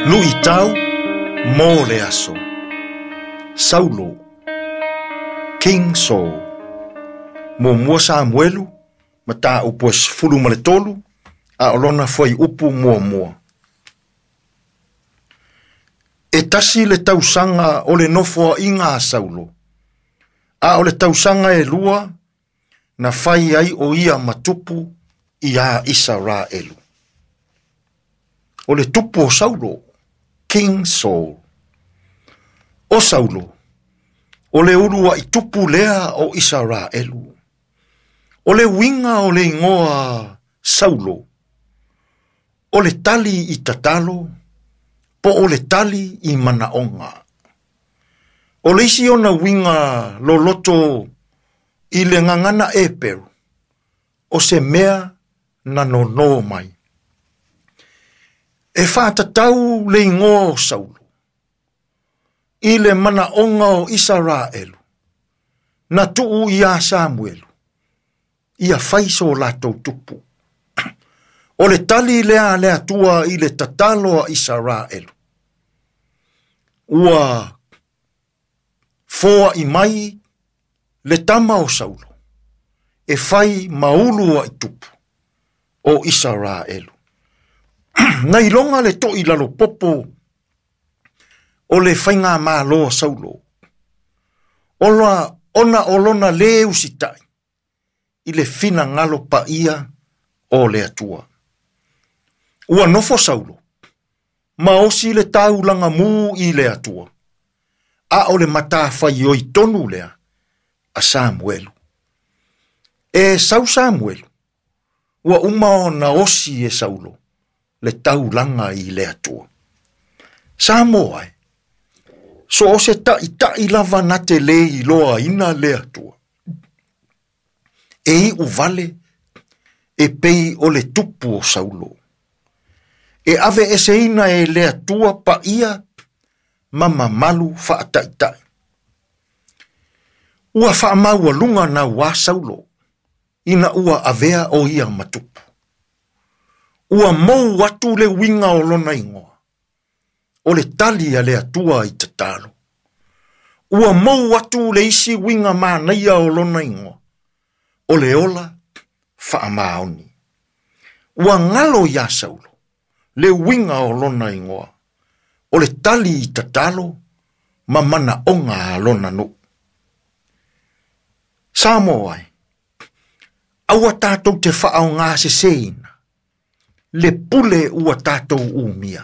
Luʻitau mo le aso. Saulo, King Saul. Muamua Samuelu, mataupu e 13, a o lona fuaiupu muamua. E tasi le tausaga o le nofoaiga a Saulo, a o le tausaga e lua na fai ai o ia ma tupu iā Isaraelu. O le tupu o Saulo, King Saul. O Saulo, o le uluaʻi tupu lea o Isaraelu. O le uiga o le igoa Saulo, o le tali i tatalo, po o le tali i manaoga. O le isi ona uiga loloto i le gagana Eperu, o se mea na nonō mai. E faatatau le igoa o Saulo i le manaoga o Isaraelu, na tuu iā Samuelu, ia fai so latou tupu. O le tali lea a le Atua i le tatalo a Isaraelu, ua foaʻi mai le tama o Saulo e fai ma uluaʻi tupu o Isaraelu. Na iloga le toʻi lalopopo o le faigamalo a Saulo, ona o lona lē usitaʻi i le finagalo paia o le Atua. Ua nofo Saulo ma osi le taulaga mū i le Atua, a o le matafaioi tonu lea a Samuelu. E sau Samuelu, ua uma ona osi e Saulo le taulaga i le Atua. Samoa e, so o se taʻitaʻi lava na te lē iloaina le Atua, e iʻu vale e pei o le tupu o Saulo. E aveeseina e le Atua paia ma mamalu faataʻitaʻi. Ua faamaualuga nauā Saulo ina ua avea o ia ma tupu. Ua mou atu le uiga o lona igoa, o le tali a le Atua i tatalo. Ua mou atu le isi uiga manaia o lona igoa, o le ola faamaoni. Ua galo iā Saulo le uiga o lona igoa, o le tali i tatalo ma manaoga a lona nuu. Samoa e, aua tatou te faaaogaseseina le pule ua tatou umia,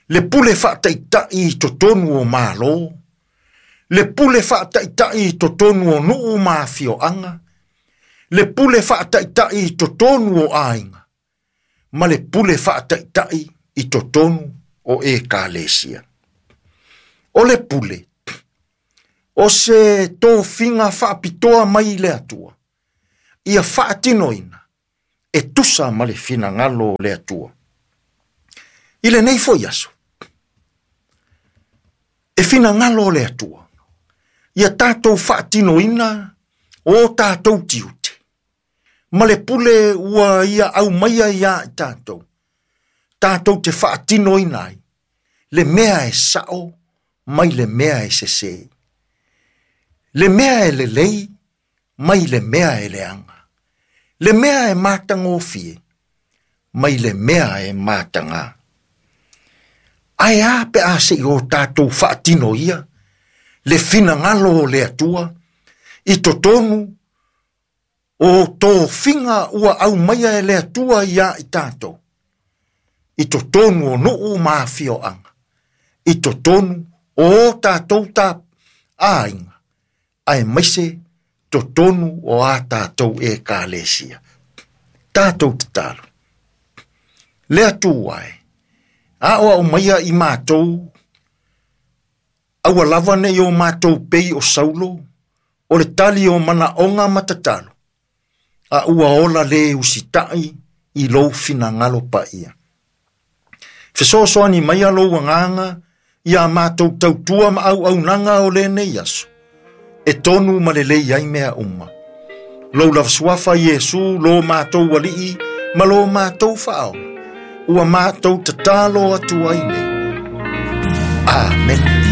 le pule faataʻitaʻi i totonu o Malo, le pule faataʻitaʻi i totonu o nuu ma afioaga, le pule faataʻitaʻi i totonu o aiga, ma le pule faataʻitaʻi i totonu o Ekalesia. O le pule, o se tofiga faapitoa mai i le Atua, ia faatinoina e tusa ma le finagalo o le Atua. I lenei foi aso, e finagalo o le Atua, ia tatou faatinoina o tatou tiute, ma le pule ua ia aumaia iā i tatou, tatou te faatinoina ai le mea e saʻo mai le mea e sesē, le mea e lelei mai le mea e leaga, le mea e matagofie mai le mea e matagā. Ae a pe a se i o tatou faatino ia le finagalo o le Atua i totonu o tofiga ua aumaia e le Atua iā i tatou, i totonu o nuu ma afioaga, i totonu o o tatou aiga, aemaise totonu o a tatou Ekalesia. Tatou tatalo. Le Atua e, aoao maia i matou, aua lava nei o matou pei o Saulo, o le tali o manaoga ma tatalo, a ua ola lē usitaʻi i lou finagalo paia. Fesoasoani maia lou agaga iā matou tautua ma auaunaga o lenei aso, e tonu ma lelei ai mea uma. Lou lava suafa Iesu, lo matou Alii ma lo matou Faaola, Ua matou tatalo atu ai nei. Amene.